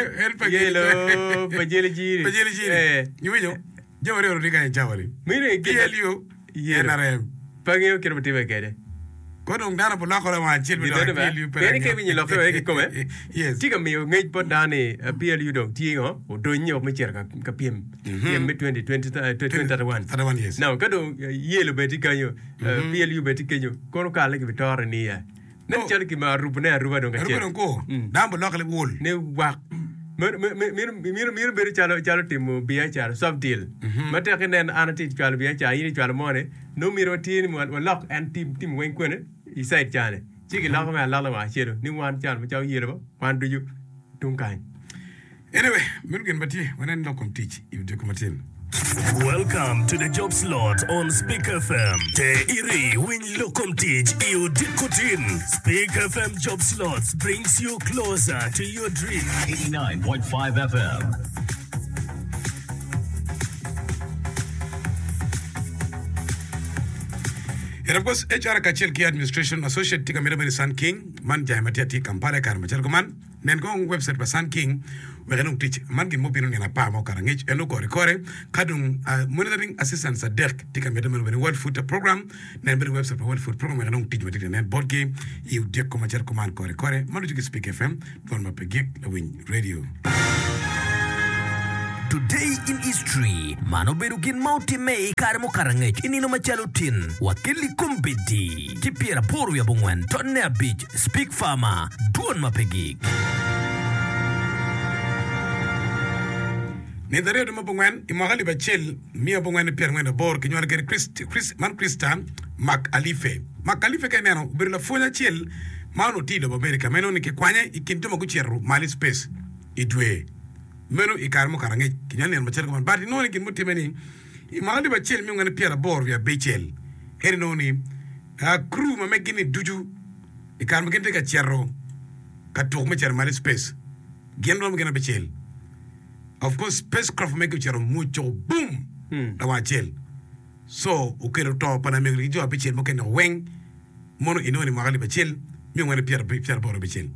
En pa Yelo pa jeli jiri. Pa jeli jiri. Eh. Iwinyo? Jami aryo tye kany i cawa-ni. Meno aye gin ma- PLU, Yelo. NRM. Pe angeyo kit ma timme kwede. Kor dong dano pe olokore wang acel me dok i PLU pe Pien ka iwinyo lokke wek kikome, Yes. tye ka miyo ngec bot dano ni eh, PLU dong tye ngo, odonyo me cito ka, ka pyem, pyem me 2020, eh, 2031. 31 years. Now, ka dong eh, yelo bene tye kanyo, eh, PLU bene tye kenyo, kono kale kibitore niya. Nen No. calo gin ma arubone aruba dong Aruba kacel. dong ko. Mm. Dano bolokke liwol. Ni wak. Meno me- me- meno meno meno bedo calo calo timo biacara, soft deal. Ma tek inen an atye ka cwalo biacara, in icwalo moni, nongo myero watye ni wa- walok en tim tim weng kwene i side cani. Ci giloko me aloka wang acelu ni wan calo macalo yelo ba, wan ducu tung kany. Anyway, meno gin ma tye, wanen lok kom tic i odiko matin. Welcome to the job slot on Speak FM. Te iri winy lok kom tic i odiko tin. Speak FM job slots brings you closer to your dream. 89.5 FM. And of course, HR kacel ki Administration Associate tye ka mito bedo i Sun King, man jange ma tye atir i Kampala i kare macalo kuman. Nen kong webcait pa Sun King wek inong tic man gin mubino nino apar ma okato angec en okore kore ka dong Monitoring Assistants adek tye ka mitte meno bene World Food Program nen bene webcait pa World Food Program wek inong tic ma tye ka nen botgi i odyeko macalo kuman kore kore ma ducu ki Speak FM dwon ma pe gik lawiny radio. Today in History, Man obedo gin ma otimme i kare mukato angec i nino macalo tin wa kelli kombeddi ki pyeraboro wiye abongwen tonne abic Speak Farmer, Dwon ma pe gik. Nino aryo dwe me abongwen i mwaka alip acel miya abongwen ki pyerangwen aboro kinywalo kwede man Krista McAuliffe. McAuliffe ka ineno obedo lapwony acel ma onongo tye i lobo Amerika ma inongo ni kikwanye i kin jo ma gucito malo i space i dwe meno i kare mukato angec kinywalo nino macalo kuman but inongo ni gin mutimme ni i mwaka alip acel miya angwen ki pyeraboro wiye abicel en inongo ni Crew ma meggi-ni ducu i kare ma gin tye ka cito ka tuk me cito malo i space, gin romo gin abicel. Of course, spacecraft ma meggi ocito omuco boom lawang acel. So, okelo to pa lamego-ni ki jo abicel mukene weng mono inongo ni mwaka alip acel miya angwen ki pyeraboro abicel.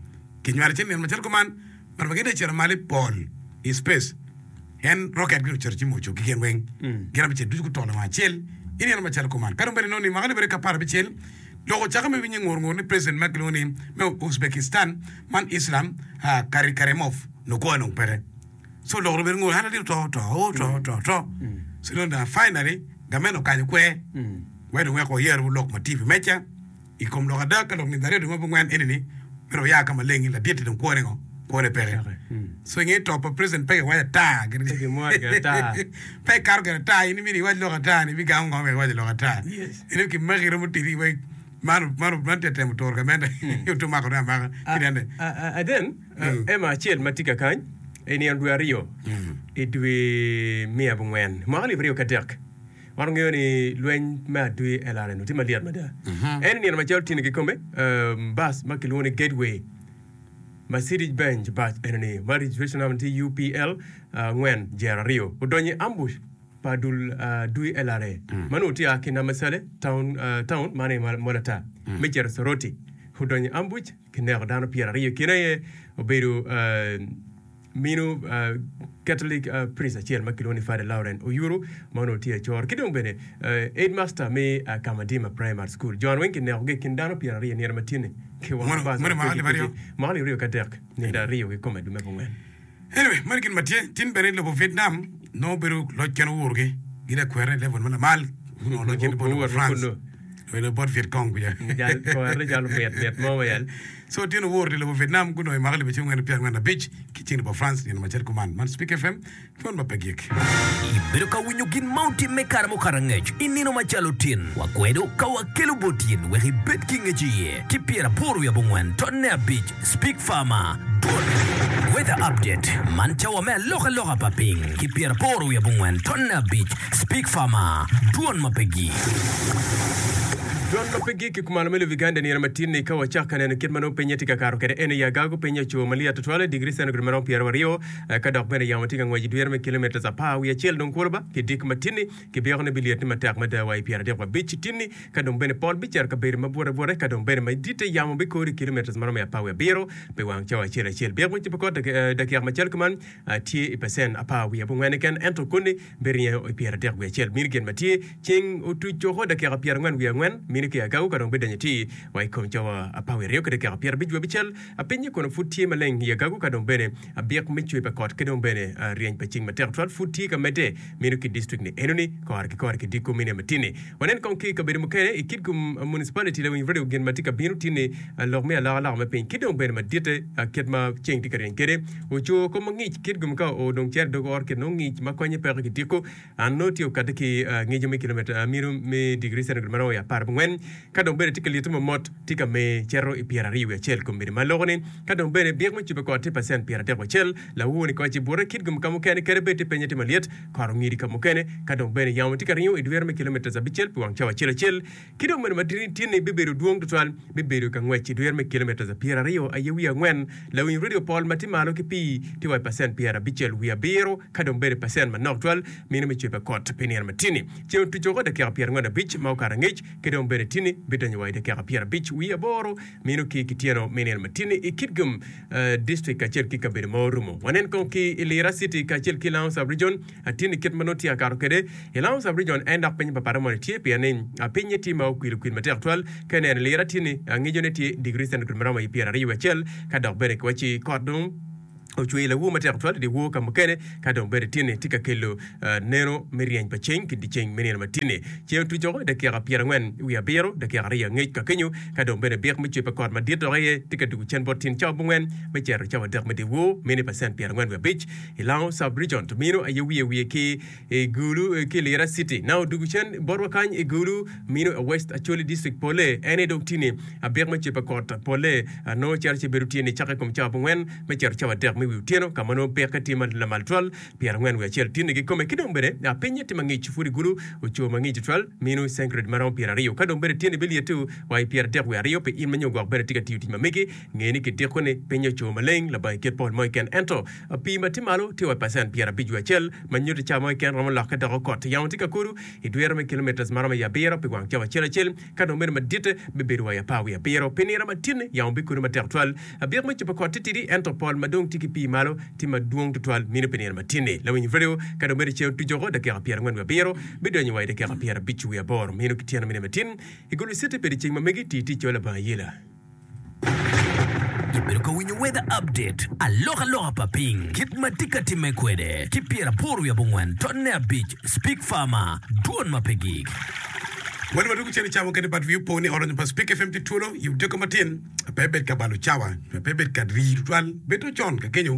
Kinywalo ci nino macalo kuman, but ma gin tye ka cito malo i pol i space, En roket gin ocito ci muco ki gin weng. Gin abicel ducu guto lawang acel i nino macalo kuman. Ka dong bene inongo ni mwaka alip ki 16 lok ocakke me winyo ngur ngur ni president ma kilwongo ni me Uzbekistan man Islam Karimov nongo kwo dong peke. So lok dong bedo ngur an adito to to to to to. So inongo dong finally gamente okanyo kwer wek dong wek wayer lok ma tye i wi meja. I kom lok ada, ka lok nino aryo dwe me abongwen eni-ni myero oya ka maleng ni ladit-ti dong kwone ngo? Kwone peke. So i nge to pa president pe kiwaco ata. Pe ikato gire ata, in imito iwac lok ata ni ibigamo ngo wek iwaco lok ata. In kimaki iromo titi wek man man man tye ka temo turo gamente otum makone amaka ci nene. Aden, ema acel ma tye kakany i nino dwe aryo i dwe me abongwen mwaka alip aryo ki adek. Wan wangeyo ni lweny me adwi LRN tye malyet mada. En i nino macalo tini kikome, bus ma kilwongo ni Gateway Mercedes Benz bus enoni ma registration number tye UPL angwen jero aryo odonyo i ambush pa dul adwi LRA ma nongo tye a ki Namasale town, town man aye Molata me cito Soroti. Odonyo i ambush kineko dano 20 i kine aye obedo Mino Catholic priest acel ma kilwongo ni Father Laurent Oyuru ma onongo tye acor ki dong bene headmaster me Kamadima Primary School. Jon weng kinekogi i kin dano 20 nino ma tye-ni kiwango bas mwaka alip aryo ki adek nino aryo kikome dwe me abongwen. Anyway, meno gin ma tye. Tin bene i lobo Vietnam nongo bedo loc ken owurogi. Gin akwere i level ma lamal. Gunongo loc ken bot lobo France. Oilo bot Viet Cong kuca. Kore calo mit mit mo ma yal. So tyen owor i lobo Vietnam gunongo i mwaka alip acel 1945 ki ceng lobo France nino macel kuman. Man Speak FM, dwon ma pe gik. Ibedo ka winyo gin ma otimme i kare mukato angec i nino macalo tin. Wakwedo ka wakelo bot in wek ibed ki ngec iye ki pyeraboro wiye abongwen tonne abic Speak Farmer Dwon Weather Update Man cawa me alokaloka pa piny ki pyeraboro wiye abongwen tonne abic Speak Farmer Dwon ma pe gik. Dwan ma pe gik i kumalo me lobo Uganda nino matin-ni ka wacak ka neno kit ma nongo pinye tye ka kato kwede en aye agago piny ocur malyet tutwal i digri centigrade ma romo pyeraryo ka dok bene yamo tye ka ngwec i dwiro me kilometres apar wiye acel dong kulu ba ki dik matin-ni kibyeko ni bilyet ni matek mada wa i pyeradek wa abic tin-ni ka dong bene pol bicito kabedo ma bute bute ka dong bene maditte yamo bikoro i kilometres ma romo i apar wiye abiro pi wang cawa acel acel. Byek me cibo kot dakika macalo kuman tye i pacen apar wiye abongwen keken ento koni Biringo i pyeradek wiye acel mini gin ma tye, ceng otuc coko dakika pyerangwen wiye angwen mini ki agago ka dong bidonyo atir wa i kom cawa apar wiye aryo ki dakika pyerabic wiye abicel. Pinye kono pud tye maleng i agago ka dong bene abik me cwer pa kot ki dong bene ryeny pa ceng matek twal pud tye ka medde mino ki distrik ni enoni kore ki kore ki diko mine matini. Wanen kong ki i kabedo mukene i Kitgum Municipality lawiny radio gin ma tye ka bino tye ni lok me alokaloka me piny ki dong bene maditte kit ma ceng tye ka ryeny kwede oco kom ma ngic Kitgum ka oo dong cito i dog ot kit nongo ngic ma konye peko ki diko an nongo tye okati ki ngico me kilometer mino me degree centigrade ma romo i apar abongwen ka dong bene tye ka lite mamot tye ka mer cito i pyeraryo wiye acel kombeddi ma loko ni ka dong bene byek me cube kot tye pacent pyeradek wiye acel lawur ni koc i bute Kitgum ka mukene kadi bed tye pinye tye malyet kot ongidi ka mukene ka dong bene yamo tye ka ringo i dwiro me kilometres abicel pi wang cawa acel acel Ki dong meno ma tye-ni bibedo dwong tutwal, bibedo ka ngwec i dwiro me kilometres pyeraryo aye wiye angwen. Lawiny redio pol ma tye malo ki pii tye wa i pacent pyerabicel wiye abiro, ka dong bedo i pacent manok twal mino me cwer pa kot pi nino ma tye-ni. Ceng otuco woko dakika pyerangwen abic ma okato angec, ki dong bene tye-ni bidonyo wa i dakika pyerabic wiye aboro mino ki kityeno me nino ma tye-ni i Kitgum District kacel ki kabedo ma orumo. Wanen kong ki i Lira City kacel ki Lango Sub-Region. Atin i kit ma nongo tye akato kwede i Lango Sub-Region en dok piny pa pata moni tye pien ni pinye tye ma okwil okwil matek twal. Ka ineno lira tye ni ngicone tye degree centigrade ma romo i pyeraryo wiye acel ka dok bene kiwacci kot dong ocwer lawur matek twal i dyewor ka mukene ka dong bene tye ni tye ka kelo neno me ryeny pa ceng ki dyeceng me nino ma tye-ni. Ceng otuc woko i dakika pyerangwen wiye abiro, dakika aryo angec ka kenyo ka dong bene byek me cwer pa kot madit dok aye tye ka dugo cen bot tyen cawa abongwen me cito cawa adek me dyewor mini pacent pyerangwen wiye abic. I Lango Sub-Region to mino aye wiye wiye ki i Gulu ki Lira City. Na odugu cen botwa kany i Gulu mino i West Acholi District pole en aye dong tye-ni abik me cwer pa kot pole nongo cito ci bedo tye-ni cake i kom cawa abongwen me cito cawa adek me wi otyeno ka ma nongo peke tye ma lamal twal pyerangwen wiye acel tye-ni kikome ki dong bene pinye tye mangic pud i Gulu oco mangic tutwal mino centigrade ma romo pyeraryo ka dong bene tye-ni bilyettu wa i pyeradek wiye aryo pi in ma nyo gwok bene tye ka tiyo tic ma megi Nge ni kitiko ni piny oco maleng labongo kit pol mo keken, ento pii ma tye malo tye wa i pacent pyerabic wiye acel, ma nyuto cawa mo keken romo lokke doko kot. Yamo tye ka kodo i dwiro me kilometres ma romo i abiro pi wang cawa acel acel, ka dong bedo maditte bibedo wa i apar wiye abiro. Pi nino matinni, yamo bikodo matek twal. Abyek me cobo kot tye tidi, ento pol ma dong tye ki pii malo tye madwong tutwal mino pi nino matinni. Lawiny redio ka dong bedo ceng otuco woko dakika pyerangwen wiye abiro, bidonyo wa i dakika pyerabic wiye aboro mino ki tyeno me nino matin. I Gulu City bedo ceng ma megi ti tic calo labongo ayela. Ibedo ka winyo Weather Update, alokaloka pa piny, kit ma tye ka timme kwede, ki pyeraboro wiye abongwen tonne abic, Speak Farmer, dwon ma pe gik. Wan wadwogo cen i cawa mukene but wi opo ni ot lonyo pa Speak FM tye twolo i odiko matin pe ibed ka balo cawa pe ibed ka rii tutwal bed to con ka kenyo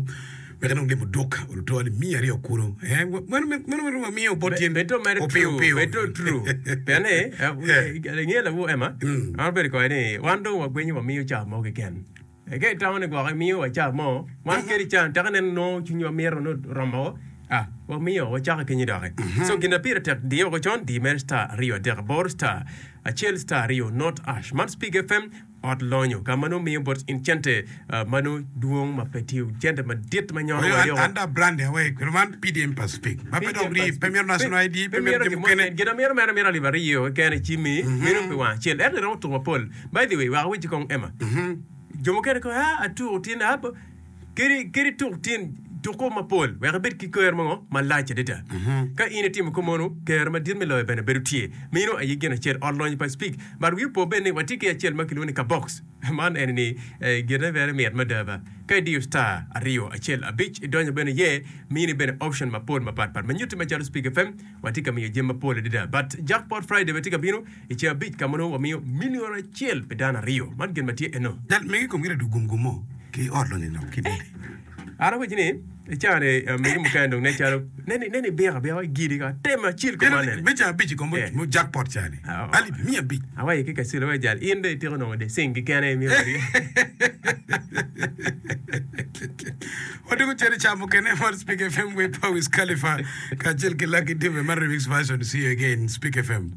wek inong limo duk oluto alip miya aryo kulu eh meno meno meno wamiyo bot tyen Bedo mere opiyo true, opiyo bedo true. Pien ni, eh, inge lawu Emma, Mm. an abedo koye ni wan dong wagwenyo wamiyo cawa mo keken. Eh, Ka itamo ni gwok imiyo wa cawa mo, wan kadi cawa tek ineno nongo cwinywa mito nongo oromo, ah, wamiyo wacako kenyo doki. So gin ma pire tek diye woko con, di mere star aryo adek aboro star acel star aryo not ash. Man Speak FM, Ot lonyo ka ma nongo miyo bot in cente ma nongo dwong ma pe tiyo, cente madit ma nyono wa yoko. An dok brand awe kwede man PDM Pacific ma pe dok rii, pe mito national ID, pe mito jami mukene. Gin amito mere mito alip aryo keken i cimmi, meno pi wang acel. Ento iromo tuko mapol. By the way, wek awacci kong Emma, jo mukene kong aa atuko tin, aa kadi kadi tuk tin, tuko mapol wek ibed ki ker mo malac adada. Ka in itimo kumeno, ker madit me loyo bene bedo tye. Meno aye gin acel, ot lonyo pa Speke. But wi opo bene ni watye ki acel ma kilwongo ni kabox. Man eni ni gine bene mit mada ba. Ka idiyo star aryo acel abic idonyo bene iye, mini bene option mapol mapat pat ma nyutti macalo Speke FM watye ka miyo jami mapol adada. But Jackpot Friday bene tye ka bino i ceng abic ka ma nongo wamiyo million acel pi dano aryo. Man gin ma tye eno. Jal megi komgi riddo gum gum mo ki ot lonyo lok ki dudi. An awaci ni i cawa ni megi mukene dong nen calo nen ibiko abika igidi ka temo acel kuman nene. Me cawa abic i kom Eh. mo jackpot ca ni Ah, oh. alip miya abic. Awaci ki kacel awaci jal in dong itiko nongo de cing kikene imiyo boti. Wadwogo cen i cawa mukene man Speak FM with Wiz Khalifa kacel ki Lucky Dube man remix version see you again Speak FM.